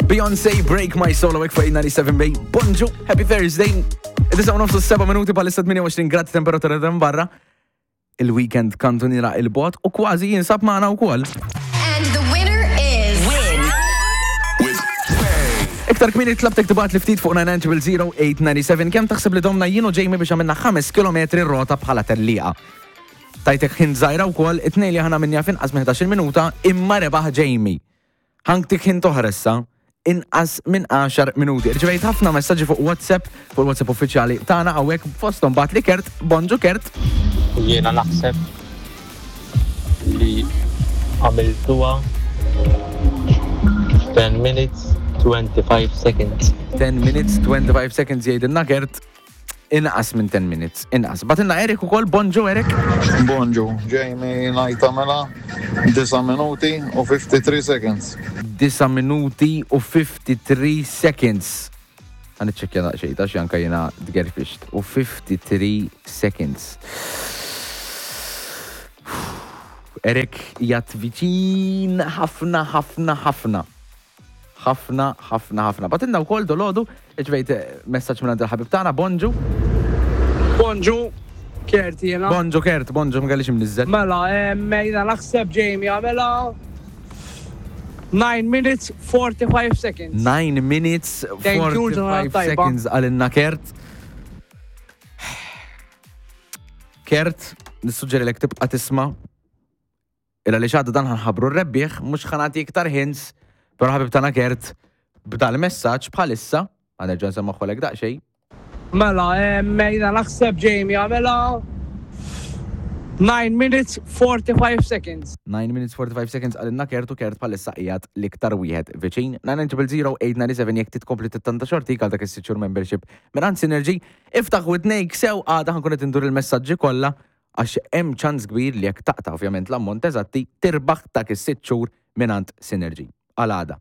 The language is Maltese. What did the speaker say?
Beyoncé Break My Soul hawnhekk fuq 97 Bay. Bonġu, Happy Thursday. Id-disa u nofsu 7 minuti bħalissa 28 grad temperatura ta' barra. Il-weekend kantuniera il-bot u kważi jinsab magħna wkoll. And the winner is. Win. Iktar kmieni tlabtek tibgħat li ftit fuq 9900897 kemm taħseb li domna jien u Jamie biex għamilna 5 km rota bħala tellieqa. Tajtek ħin żgħira wkoll, it-tnejn li aħna minja f'inqas minn 11-il minuta imma rebaħ Jamie. Ħanktik ħin toħra issa, inqas minn 10 minuti. Irċivejt ħafna messaġġi fuq WhatsApp, fuq il-WhatsApp uffiċjali tagħna hawnhekk fosthom bagħatli Kert, bonġu Kert. Jiena naħseb li għamiltuha 10 minutes 25 seconds. 10 minutes 25 seconds jgħidilna Kert. Inqas minn 10 minutes, inqas. Batilna Erik ukoll, bonġu Erik. Bonġu, Jamie ngħid tagħmilha 9 minuti u 53 seconds. 9 minuti u 53 seconds. Għan iċċekkja daqsxejn ta' xi anka jiena tgerfixt. U 53 seconds. Erik jgħat viċin ħafna ħafna ħafna. Ħafna, ħafna, ħafna. Batilna wkoll dolodu, irċivejt messaġġ minn il-ħabib tagħna, bonġu. Bonġu, Kert jiena. Bonġu Kert, bonġu, ma kellix imniżżel. Mela, jiena naħseb Jamie għamilha 9 minutes 45 seconds. 9 minutes 45 seconds għalinna Kert. Kert, nissuġġerilek tibqa' tisma' Il għaliex għadda dan ħanħabru r-rebbieħ, mhux ħanati iktar hints, però ħabib tagħna Kert b'dal-messaġġ bħalissa, ħa nerġa' nsemmaħħolek daqsxejn. Mela, jiena naħseb Jamie għamilha 9 minutes 45 seconds. 9 minutes 45 seconds qalilna Kert u Kert bħalissa qiegħed l-iktar wieħed viċin. 9900897 jekk trid tkompli tittanta xortik għal dak is-sitt xhur membership mingħand Synergy, iftaħ widnejk sew għada ħankun qed indur il-messaġġi kollha Għax hemm ċans kbir li jekk taqta' ovvjament l-ammont eżatti, tirbaħ dak is-sitt xhur mingħand Synergy. Għal għada.